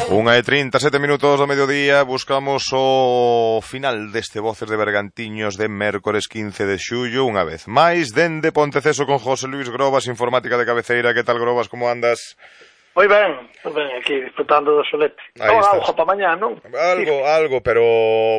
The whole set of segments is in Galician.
1:37 minutos do mediodía, buscamos o final deste Voces de Bergantiños de mércores 15 de xullo, unha vez máis, dende Ponteceso con José Luis Grobas, informática de cabeceira. Que tal, Grobas, como andas? Moi ben, aquí disfrutando do solete. Non auga para mañá, non? Algo, pero,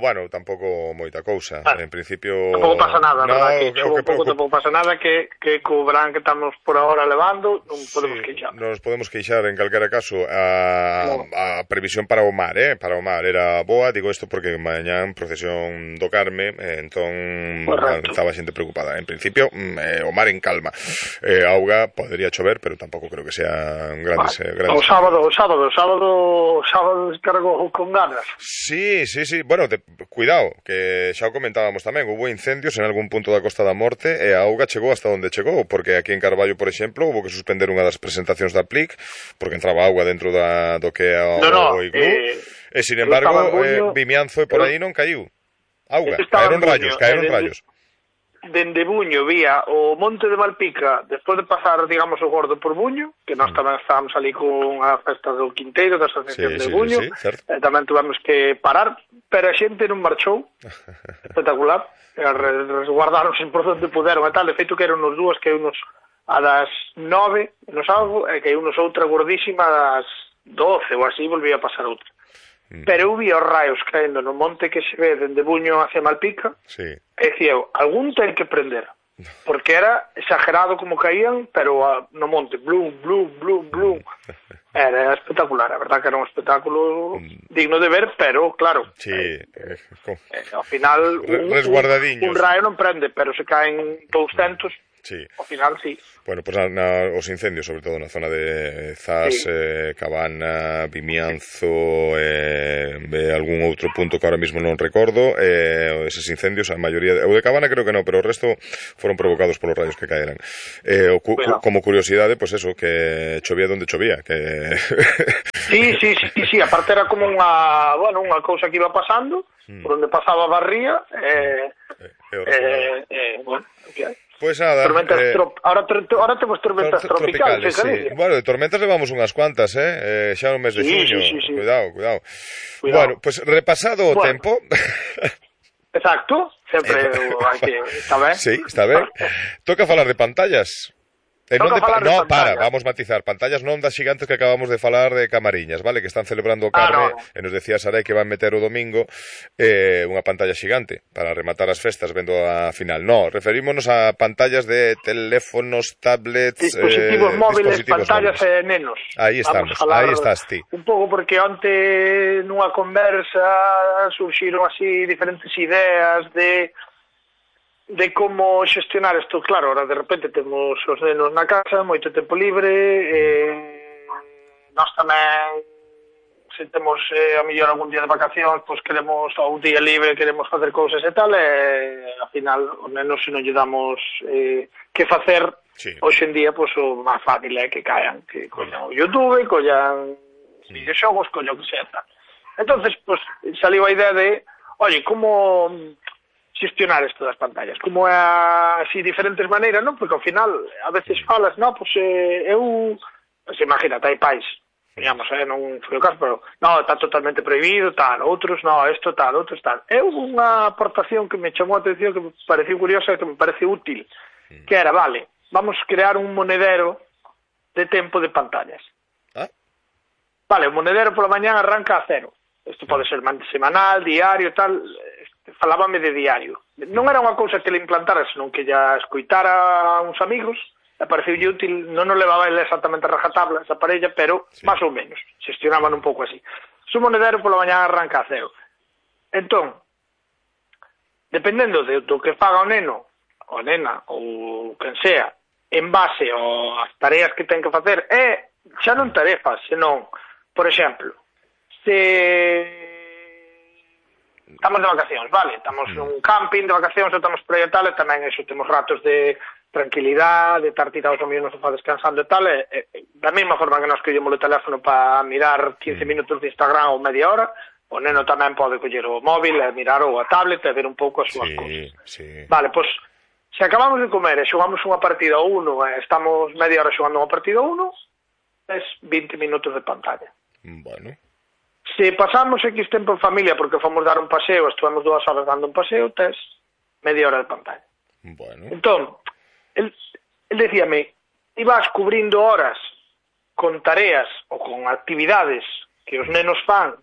bueno, tampouco moita cousa. Vale. En principio... Tampouco pasa nada, no, verdad? Que un pouco tampouco pasa nada, que co verán que estamos por ahora levando, non podemos queixar. Non nos podemos queixar, en calquera caso. A previsión para o mar, para o mar era boa, digo isto porque mañán procesión do Carme, entón estaba xente preocupada. En principio, o mar en calma. Auga podería chover, pero tampouco creo que sean grandes... O sábado descargou con ganas. Sí, bueno, cuidado, que xa o comentábamos tamén, hubo incendios en algún punto da Costa da Morte e a auga chegou hasta onde chegou, porque aquí en Carballo, por exemplo, hubo que suspender unha das presentacións da PLIC porque entraba auga dentro do que é o iglú, e sin embargo Vimianzo e por aí non caiu auga, caeron rayos. Dende Buño vía o Monte de Malpica, despois de pasar, digamos, o Gordo por Buño, que nós tamén estábamos ali con a festa do Quinteiro, da Asociación de Buño, tamén tuvemos que parar, pero a xente non marchou, espectacular, resguardaronse por onde puderon e tal, de feito que eran uns dúas, que unos a das 9, no sábado, e que unos outra gordísima a das 12, ou así, volvía a pasar outra. Pero eu vi os raios caendo no monte que se ve dende Buño hacia Malpica, e dicía eu, algún ten que prender, porque era exagerado como caían, pero no monte, blum, era espectacular, a verdad que era un espectáculo digno de ver, pero claro, ao final un raio non prende, pero se caen 200, ao final sí. Bueno, pues os incendios, sobre todo na zona de Zas, Cabana, Vimianzo, algún outro punto que ahora mismo non recordo, eses incendios, a maioría, o de Cabana creo que non, pero o resto foron provocados polos rayos que caeran. Como curiosidade, pues eso, que chovía donde chovía, que... Sí, aparte era como unha cousa que iba pasando, por onde pasaba a barría, bueno, que hai. Pues nada, ahora temos tormentas tropicales, sí. Bueno, de tormentas levamos unhas cuantas, xa no mes de xuño. Sí. Cuidado. Bueno, pues repasado o tempo. Exacto, sempre hai que, está ben. Sí, está ben. Toca falar de pantallas. Vamos matizar, pantallas non das xigantes que acabamos de falar de Camariñas, vale, que están celebrando o Carme, e nos decía Sarai que van meter o domingo unha pantalla xigante para rematar as festas vendo a final. No, referímonos a pantallas de teléfonos, tablets, dispositivos móviles, pantallas e nenos. Aí estamos, aí estás ti. Un pouco porque onte nunha conversa surxiron así diferentes ideas de como xestionar isto. Claro, ahora de repente temos os nenos na casa, moito tempo libre, nós tamén, se temos a mellor algún día de vacacións, pois queremos, ou un día libre, queremos facer cousas e tal, e ao final os nenos, se non lle damos que facer, hoxe en día, pois o máis fácil é que caian, que collan o YouTube, collan videoxogos, collan o que sea tal. Entonces, pois, saliu a idea de, oye, como xestionar isto das pantallas, como é así diferentes maneiras, non? Porque ao final a veces falas, non, pois eu, pois imagínate, hai pais, digamos, non foi o caso, pero non, está totalmente prohibido, tal, outros, non, isto tal, outros tal. É unha aportación que me chamou a atención, que me pareceu curiosa e que me parece útil, que era, vale, vamos crear un monedero de tempo de pantallas. Vale, o monedero pola mañán arranca a 0. Isto pode ser semanal, diario, tal. Falábame de diario. Non era unha cousa que le implantara, senón que ya escoitara a uns amigos, e pareceulle útil, non nos levaba ele exactamente a rajatabla esa parella, pero máis ou menos, xestionaban un pouco así. Su monedero pola mañá arranca a 0. Entón, dependendo do que faga o neno, ou nena, ou quen sea, en base ás tareas que ten que facer, xa non tarefas, senón, por exemplo, se estamos de vacacións, vale, estamos nun camping de vacacións, estamos por aí e tal, e tamén eso, temos ratos de tranquilidade, de estar tirados ao mesmo sofá descansando e tal, da mesma forma que nos collemos o teléfono para mirar 15 minutos de Instagram ou media hora, o neno tamén pode coller o móvil e mirar ou a tablet e ver un pouco as súas cousas. Vale, pois, se acabamos de comer e xogamos unha partida ou uno, estamos media hora xogando unha partida ou uno, es 20 minutos de pantalla. Bueno. Se pasamos X tempo en familia porque fomos dar un paseo, estuvemos 2 horas dando un paseo, tes media hora de pantalla. Bueno. Entón, él decíame, ibas cubrindo horas con tareas ou con actividades que os nenos fan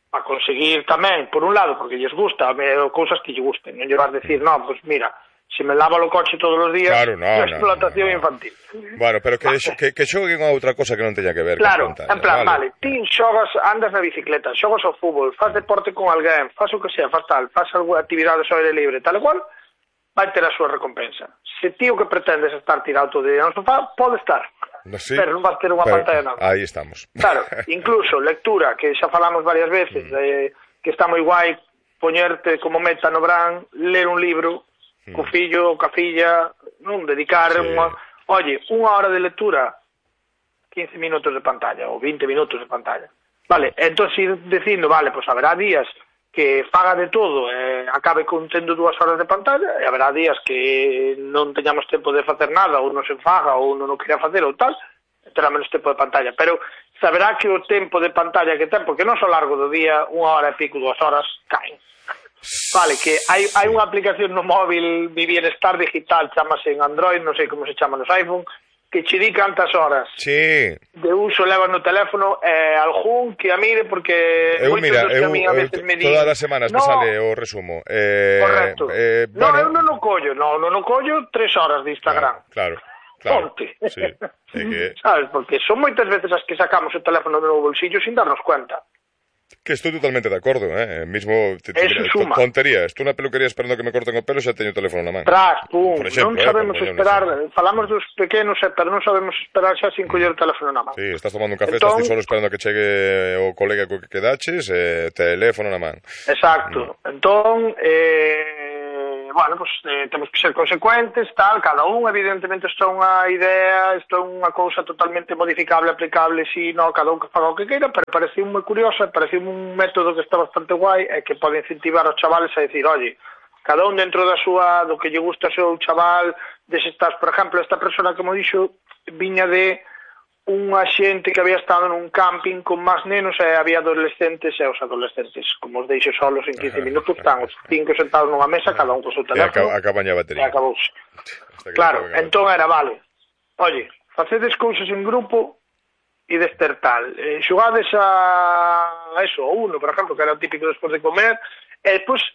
para conseguir tamén, por un lado, porque lles gusta, cousas que lle gusten, non lle vas decir, non, pues mira, se me lava o coche todos os días, claro, no, explotación infantil. Bueno, pero que xoguen a outra cosa que non teña que ver claro, con pantalla. En plan, vale, ti xogas, andas na bicicleta, xogas ao fútbol, faz deporte con alguén, faz o que sea, faz algunha actividade ao aire libre, tal e cual, vai ter a súa recompensa. Se ti o que pretendes estar tirado todo o día no sofá, pode estar. Sí, pero non vas ter unha pantalla nada. Aí estamos. Claro, incluso lectura, que xa falamos varias veces, que está moi guai poñerte como meta no verán, ler un libro, co fillo, ca filla, non dedicar unha hora de lectura, 15 minutos de pantalla, ou 20 minutos de pantalla. Vale, entón ir dicindo, vale, pois haberá días que faga de todo acabe tendo 2 horas de pantalla, e haberá días que non teñamos tempo de facer nada, ou non se faga, ou non o quería facer, ou tal, terá menos tempo de pantalla, pero saberá que o tempo de pantalla que ten, porque non só largo do día, 1 hora e pico, 2 horas, caen. Vale, que hai unha aplicación no móvil, Mi Bienestar Digital, chamase en Android, non sei como se chama nos iPhone, que che di cantas horas de uso leva no teléfono, algún que a mire, porque moitos dos que a mí a veces me di... Todas as semanas me sale o resumo. Correcto. Eu non o collo, non o collo 3 horas de Instagram. Claro. Ponte. Sí. Sabes, porque son moitas veces as que sacamos o teléfono do bolsillo sin darnos cuenta. Que estou totalmente de acordo, mismo tontería, estou na peluquería esperando que me corten o pelo, xa teño o teléfono na man. Pum, non sabemos esperar, falamos dos pequenos, pero non sabemos esperar xa sin coller o teléfono na man. Sí, estás tomando un café, estás ti solo esperando a que chegue o colega co que quedaches, teléfono na man. Exacto, entón, bueno, pues temos que ser consecuentes, tal, cada un, evidentemente, isto é unha idea, isto é unha cousa totalmente modificable, aplicable, si, no, cada un que faga o que queira, pero pareceu moi curioso, pareceu un método que está bastante guai, e que pode incentivar aos chavales a decir, oye, cada un dentro da súa, do que lle gusta ao seu chaval, estás, por exemplo, esta persona que mo dixo, viña de unha xente que había estado nun camping con máis nenos e había adolescentes, e os adolescentes, como os deixo solos en 15 minutos, están os 5 sentados nunha mesa, cada un co seu teléfono, e acaban a batería. E acabouse. Claro, entón era, vale, oye, facedes cousas en grupo e dester tal, xogades a eso, a uno, por exemplo, que era o típico despois de comer, e despois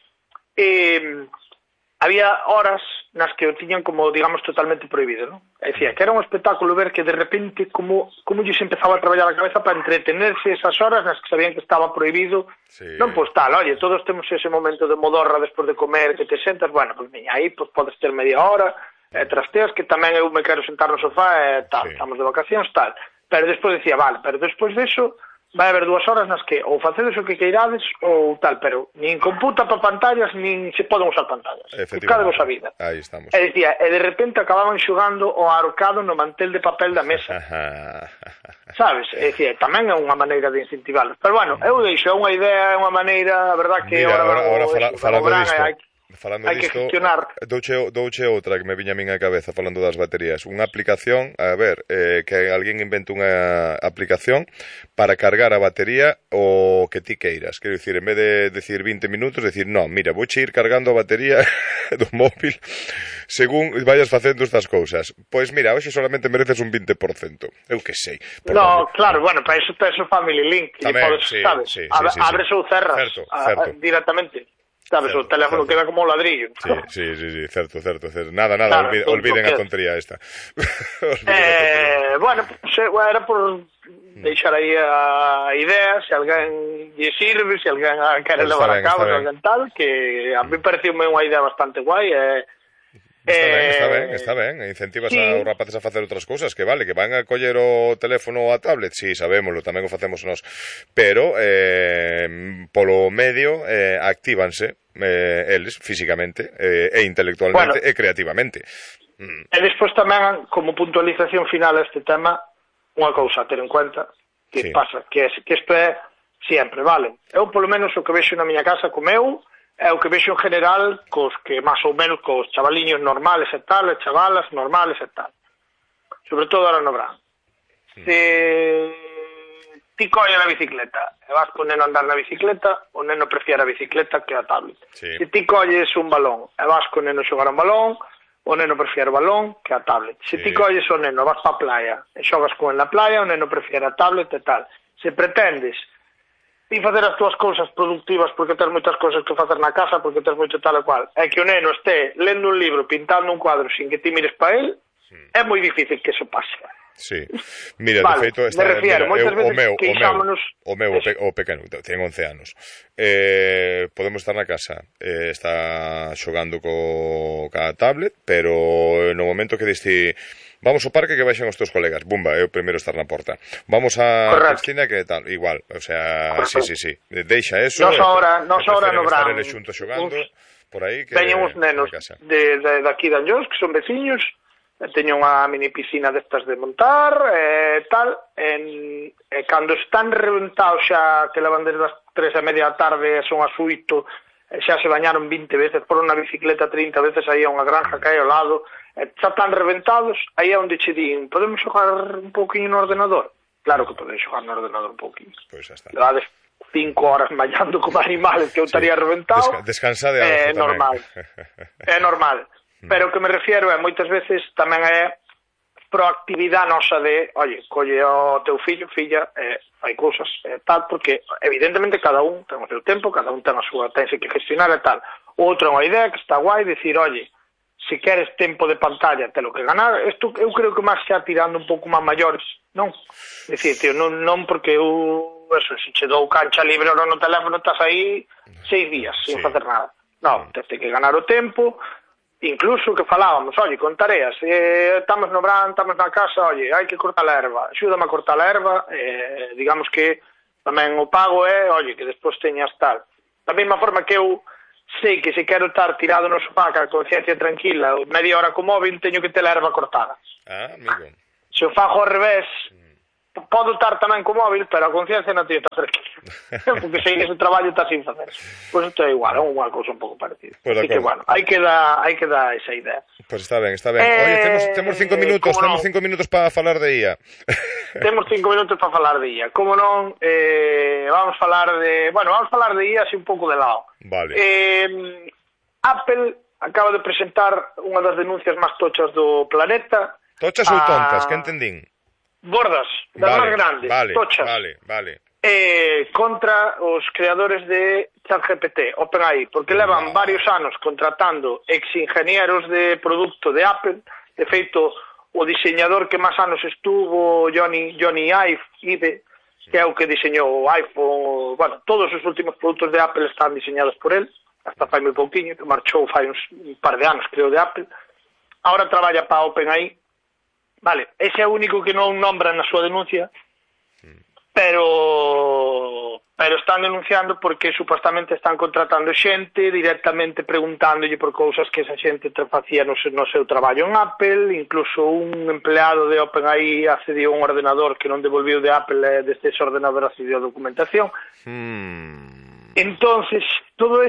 había horas nas que o tiñan como, digamos, totalmente prohibido, non? É dicir, que era un espectáculo ver que de repente como lles empezaba a traballar a cabeza para entretenerse esas horas nas que sabían que estaba prohibido. Non, pois tal, oye, todos temos ese momento de modorra despois de comer, que te sentas, bueno, pois miña, aí pois podes ter media hora, trasteas, que tamén eu me quero sentar no sofá e tal, estamos de vacacións, tal. Pero despois decía, vale, pero despois deso vai haber 2 horas nas que ou facedes o que queirades ou tal, pero nin computa para pantallas, nin se poden usar pantallas. Buscade vos a vida. Aí estamos. E dicía, e de repente acababan xogando o arcado no mantel de papel da mesa. Sabes? E dicía, tamén é unha maneira de incentivarlos. Pero bueno, eu deixo, é unha idea, é unha maneira, a verdad que ahora falando disto, hai que gestionar. Douche outra que me viña a min a cabeza falando das baterías. Unha aplicación, a ver, que alguén invente unha aplicación para cargar a batería o que ti queiras. Quero dicir, en vez de decir 20 minutos, decir, no, mira, vouche ir cargando a batería do móvil según vayas facendo estas cousas. Pois mira, hoxe solamente mereces un 20%. Eu que sei. No, claro, bueno, para iso tes o Family Link. Tamén, podes, sabes, abres ou cerras directamente. Sabes, o teléfono queda como un ladrillo. Sí, certo. Nada, claro, olviden a tontería esta. Bueno, era por deixar aí a idea, se alguén lle sirve, se alguén quere levar a cabo, se alguén tal, que a mí pareceume unha idea bastante guai, Está ben, incentivas aos rapaces a facer outras cousas, que vale, que van a coller o teléfono ou a tablet, si, sabémoslo, tamén o facemos nós, pero polo medio actívanse eles físicamente e intelectualmente e creativamente. E despois tamén, como puntualización final a este tema, unha cousa a ter en cuenta, que pasa, que isto é sempre, vale, eu polo menos o que vexo na miña casa co meu, é o que vexo en general cos que máis ou menos cos chavaliños normales e tal, e chavalas normales e tal. Sobre todo ahora no verán. Se ti colle a bicicleta e vas con o neno a andar na bicicleta, o neno prefiere a bicicleta que a tablet. Sí. Se ti colles un balón e vas con o neno a xogar un balón, o neno prefiere o balón que a tablet. Se ti colles o neno, vas pa a playa e xogas con ele na playa, o neno prefiere a tablet e tal. Se pretendes ti facer as túas cousas productivas porque tens moitas cousas que facer na casa, porque tens moito tal e cual, é que o neno este lendo un libro, pintando un cuadro sin que ti mires para él, é moi difícil que eso pase. Sí. Mira, vale, de feito, me refiero, moitas veces queixámonos... O pequeno, ten 11 anos. Podemos estar na casa, está xogando ca tablet, pero no momento que diste vamos ao parque que baixen os teus colegas, bumba, é o primeiro estar na porta. Vamos a piscina que tal, igual, o sea, sí. Deixa eso. Nos ahora no Bran. Xunto xogando por aí que teñen uns nenos de aquí de Anllóns que son veciños. Teño unha mini piscina destas de montar tal, e cando están reventados xa que levan desde as 3:30 da tarde son as 8, xa se bañaron 20 veces, por unha bicicleta 30 veces aí a unha granja que hai ao lado, xa están reventados, aí é onde che din, podemos xogar un pouquinho no ordenador? Claro que podemos xogar no ordenador un pouquinho. Pois xa está. Levades 5 horas mallando como animales que eu estaría reventado. Descansa de algo tamén. Normal. É normal. Pero o que me refiero é, moitas veces, tamén é proactividade nosa de, oye, colle o teu fillo, filla, fai cousas, tal, porque, evidentemente, cada un ten o seu tempo, cada un ten a súa, tense que gestionar e tal. O outro é unha idea que está guai, dicir, oye, se queres tempo de pantalla, te lo que ganar, isto eu creo que máis xa tirando un pouco máis maiores, non? Dicir, tío, non porque eu, eso, se che dou cancha libre ahora no teléfono, estás aí 6 días, sin facer nada. Non, tens que ganar o tempo. Incluso que falábamos, oye, con tareas, estamos no Bran, estamos na casa, oye, hai que cortar a erva, axúdame a cortar a erva, digamos que tamén o pago é, oye, que despois teñas tal. Da mesma forma que eu sei que se quero estar tirado no sofá ca conciencia tranquila, media hora co móvil, teño que ter a erva cortada. Amigo. Se o fago ao revés, podo estar tamén co móvil, pero a conciencia non teño que estar tranquila. Porque sei que ese traballo está sin facer. Pois isto é igual, é unha cousa un pouco parecida. Pues así que, bueno, hai que dar esa idea. Pois está ben. Oye, temos 5 minutos, temos 5 minutos para falar de IA. Temos 5 minutos para falar de IA. Como non, vamos falar de IA así un pouco de lado. Vale. Apple acaba de presentar unha das denuncias máis tochas do planeta. Tochas ou tontas, que entendín? Gordas, das máis grandes, tochas. Vale. Contra os creadores de ChatGPT, OpenAI, porque levan varios anos contratando ex-ingenieros de produto de Apple. De feito, o diseñador que máis anos estuvo, Johnny Ive, que é o que diseñou o iPhone, bueno, todos os últimos produtos de Apple están diseñados por él, hasta fai moi pouquiño, que marchou fai un par de anos, creo, de Apple. Ahora traballa para OpenAI. Vale, ese é o único que non nombra na súa denuncia, pero están denunciando porque supostamente están contratando xente directamente preguntándolle por cousas que esa xente facía no seu traballo en Apple. Incluso un empleado de OpenAI accediu a un ordenador que non devolviu de Apple, desde ese ordenador accediu a documentación. Entonces, todo